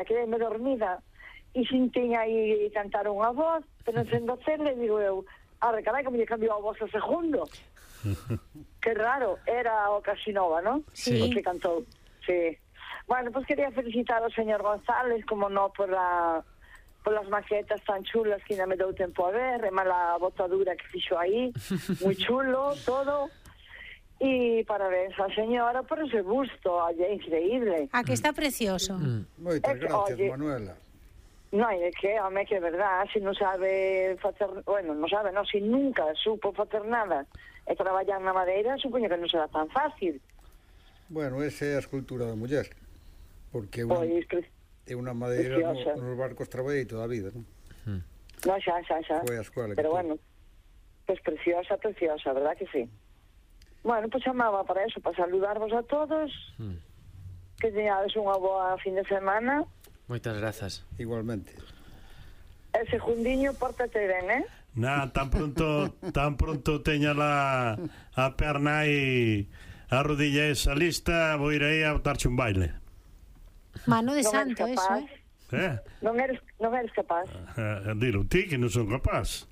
quedei-me dormida e sentí aí cantar unha voz, pero sendo cele, digo eu, carai, que me cambiou a voz a segundo. Que raro, era o Casinova, non? Sí. O que cantou, sí. Bueno, pues quería felicitar ao señor González, como no, por las maquetas tan chulas que ainda me dou tempo a ver, e mala botadura que fixo aí, moi chulo, todo. E parabéns á señora por ese busto, oye, increíble. A que está precioso. Moitas gracias, oye, Manuela. Non, é que, home, que é verdad, se non sabe facer, bueno, non sabe, non, se nunca supo facer nada e traballar na madeira, supoño que non será tan fácil. Bueno, esa é a escultura da muller, porque é unha madeira nos barcos traballei toda a vida, non? Non, xa. Foi a escola. Pero bueno, pues preciosa, verdad que sí. Bueno, pues chamaba para eso, para saludarvos a todos, que teñades unha boa fin de semana. Moitas grazas. Igualmente. E segundinho, pórtate ben, tan pronto teña a perna e a rodilla esa lista, vou ir aí a botarche un baile. Mano de santo, eso, Non eres capaz. Dilo ti, que non son capaz.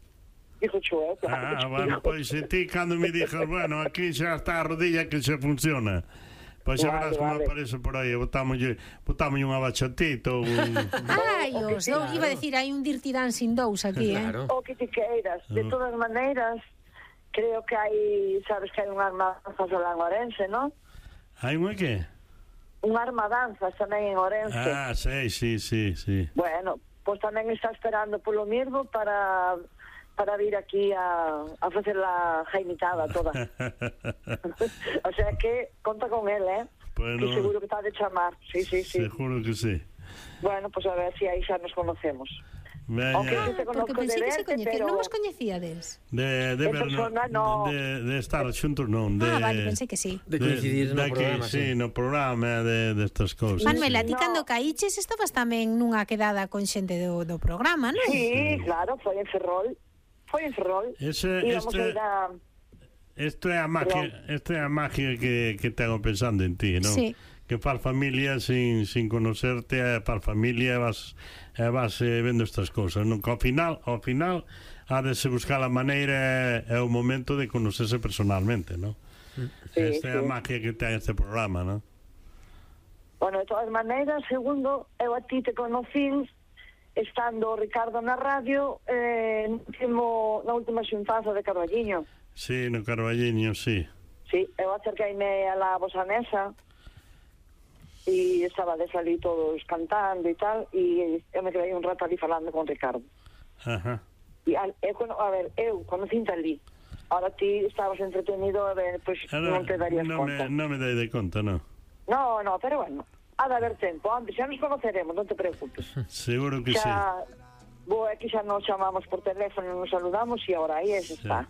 Dijo Chue, claro. Bueno, pois ti cando me dixas, bueno, aquí xa está a rodilla que xa funciona. Pois xa verás como aparece por aí, botámoslle unha bachatita ou Ai, os dous, iba a decir, hai un Dirty Dancing 2 aquí, Claro. O que te queiras. De todas maneiras, creo que hai, sabes que hai un arma danzas alá en Orense, non? hai unha que? Un arma danzas tamén en Orense. Sí. Bueno, pois tamén está esperando polo mesmo para vir aquí a facer la jaimitada toda. O sea que conta con él, Bueno, que seguro que está de chamar. Sí. Seguro que sí. Bueno, pues a ver si aí xa nos conocemos. Aunque yo te conozco porque pensei de que se verte, coñecía, pero non vos coñecíades? De persona, no. De estar xuntos non, Vale, pensei que sí. De coincidir no programa, sí, no programa destas cousas. Manuela, ti cando caíches estabas tamén nunha quedada con xente do programa, non? Sí, claro, foi en Ferrol. Isto é a magia que tengo pensando en ti, non? Sí. Que faz familia sin conocerte, faz familia e vas vendo estas cousas, non? Que ao final ha de se buscar a maneira e o momento de conocerse personalmente, non? Esta é a magia que ten este programa, non? Bueno, de todas maneiras, segundo, eu a ti te conocí estando Ricardo na radio na última xuntanza de Carballiño. Sí, no Carballiño, sí. Sí, eu acerqueime a la vosa mesa e estaba de salir todos cantando e tal, e eu me quedei un rato ali falando con Ricardo. Ajá. E eu conocinte ali. Ahora ti estabas entretenido, a ver, pois non te darías conta. Non me dai de conta, non? No, pero bueno, ha de haber tempo, antes xa nos conoceremos, non te preocupes. Seguro que sí. Aquí xa nos chamamos por teléfono, nos saludamos e ahora aí está.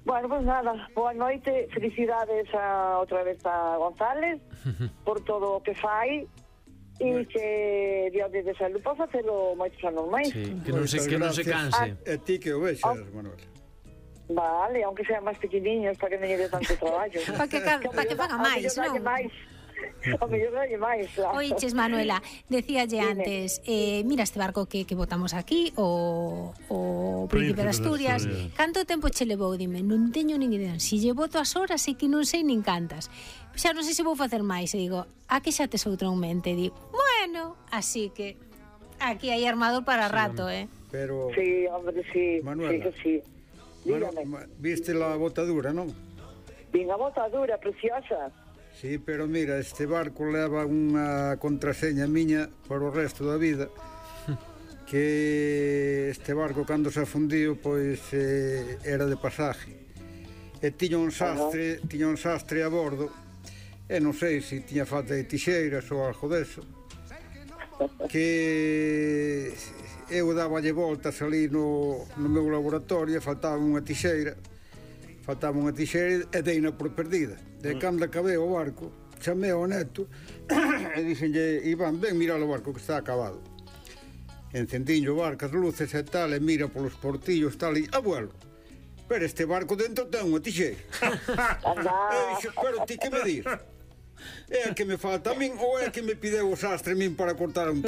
Bueno, pues nada, boa noite, felicidades outra vez a González por todo o que fai e que Dios de salud para facelo moitos anos máis. Sí, que non se canse. E ti que o vexas, Manuel. Vale, aunque sean máis pequeniños para que non lle dé tanto traballo. Para que faga máis, non? O mellor dalle máis, claro. Oiches, Manuela, decíalle antes, mira este barco que botamos aquí, o Príncipe de Asturias. Canto tempo che levou? Dime, non teño nin idea. Si lle boto as horas e que non sei nin cantas. Xa non sei se vou facer máis. E digo, a que xa tes outra en mente? Digo, bueno, así que aquí hai armador para rato, Pero... Sí, hombre, sí. Manuela, sí que sí. Dígame. Viste la botadura, non? Vin a botadura, preciosa. Sí, pero mira, este barco leva unha contraseña miña para o resto da vida, que este barco cando se afundiu pois era de pasaje e tiña un sastre a bordo e non sei se tiña falta de tixeiras ou algo deso, que eu daballe voltas ali no meu laboratorio e faltaba unha tixeira e deina por perdida. De cando acabei o barco, chamei ao neto e dixenlle, Iván, ven mirar o barco que está acabado. Encendinho o barco, as luces e tal, e mira polos portillos tal, e abuelo, pero este barco dentro ten unha tixeira. E dixo, pero ti que me dir? É a que me falta a min ou é a que me pideu o sastre a min para cortar un